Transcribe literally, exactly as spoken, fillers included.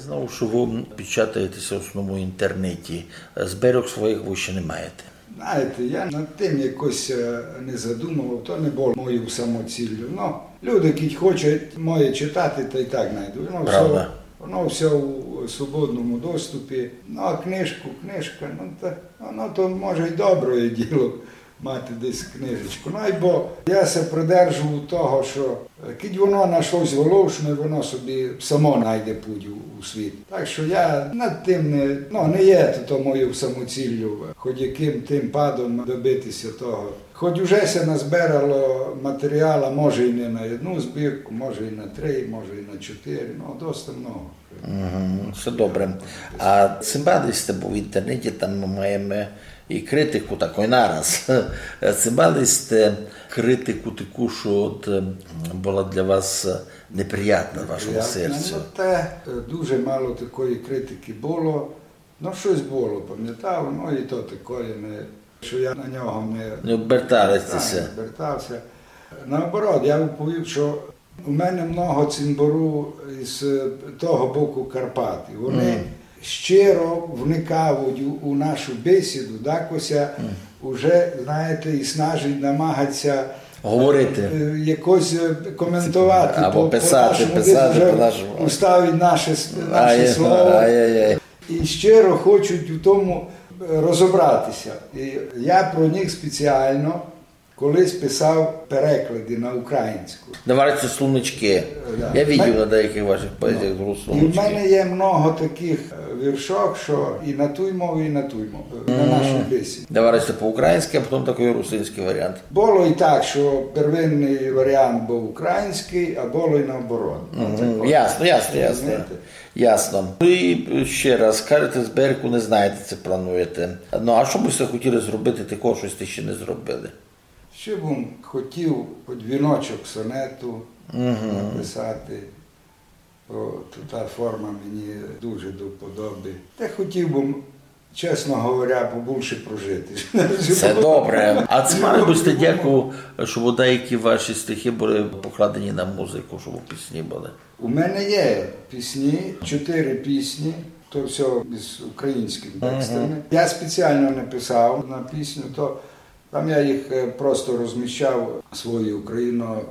Знав, што вы печатаєте ся в основному в інтернеті. Збірок своїх вы ще не маєте. Знаєте, я над тим якось е, не задумував, то не було моєю самоціллю. Ну, люди, кідь хочуть моє читати, та й так знайдуть. Воно все, Правда. Воно все у свободному доступі. Ну, а книжку, книжка, ну, та, воно то може й добре діло мати десь книжечку. Ну, айбо я ся придержував того, що е, кідь воно на щось волошне, воно собі само найде путь у, у світ. Так що я над тим не, ну, не є то, то моєю самоціллю, хоч яким тим падом добитися того. Хоч уже ся назбирало матеріала, може і не на одну збірку, може і на три, може і на чотири, ну, досить много. Мгм, все добре. А ци бадали сьте, бо в інтернеті там мы маєме і критику такой нараз. Ци бадали сьте критику таку, што от, м, была для вас неприятна в вашому Неприятна, серцю? Ну, те, е, дуже мало такої критики було. Ну, щось було, пам'ятав, ну, і то такоє, не, що я на нього не Не обертали сьте ся? Не обертався. Наоборот, я уповів, що у мене много цимбору із е, того боку Карпат. І вони щиро вникають у, у нашу бесіду, дакося уже, знаєте, і снажить, намагать ся Говорити. е, якось е, коментовати Або по, писати, по-нашому, писати десь уже по-нашому. Уставить наше с- наше Ай, слово. Ай-яй-яй. І щиро хочуть у тому е, розібратися. І я про них спеціально колись писав переклади на українську. Давайте словнички. Да. Я видів на деяких ваших поезіях згру І в словнички. Мене є много таких е, віршок, що і на тій мові, і на тій мові, на нашій бесіді. Давайте по-українськи, а потім такий русинський варіант. Було і так, що первинний варіант був український, а було і наоборот. Ну, Мгм. такое. Ясно, ясно, ясно. Розумієте? Ясно. Ну і ще раз, кажете, збірку не знаєте, ци плануєте. Ну, а што бы сьте хотіли зробити такого, што сьте ще не зробили? Ще б хотів хоч віночок сонету написати. О, то та форма мені дуже до вподоби. Та хотів би, чесно говоря, побільше прожити. Се добре. А ци мали бы сьте дяку, щоб деякі ваші стихи були покладені на музику, щоб пісні були? У мене є пісні, чотири пісні, то все з українськими текстами. Я спеціально не писав на пісню, то там я їх е, просто розміщав свої україно-